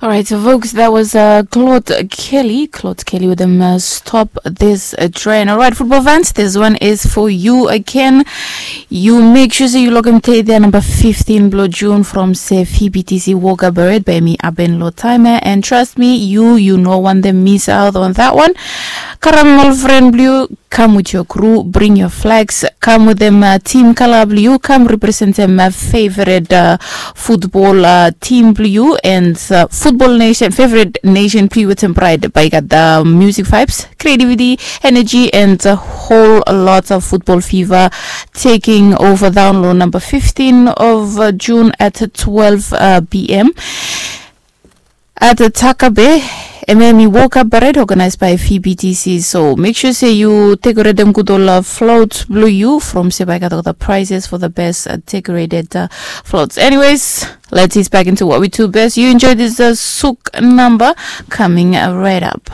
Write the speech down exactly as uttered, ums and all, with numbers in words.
All right, so folks, that was uh, Claude Kelly. Claude Kelly with them uh, stop this uh, train. All right, football fans, this one is for you again. You make sure so you look and take their number fifteen below June from se F B T C Walker Beret by me Aben Lotime. And trust me, you you know one them miss out on that one. Karam all friend blue, come with your crew, bring your flags, come with them uh, team color blue, come represent them uh, favorite uh, football uh, team blue and uh, football nation, favorite nation blue with them pride. By got the music vibes, creativity, energy, and a whole lot of football fever taking over download number fifteen of uh, June at twelve uh, p m at Takabe. M M E Walker Parade organized by F B T C. So make sure say you decorate them good all uh, floats blue you from Sebaika the prizes for the best uh, decorated uh, floats. Anyways, let's ease back into what we do best. You enjoy this uh, Suk number coming uh, right up.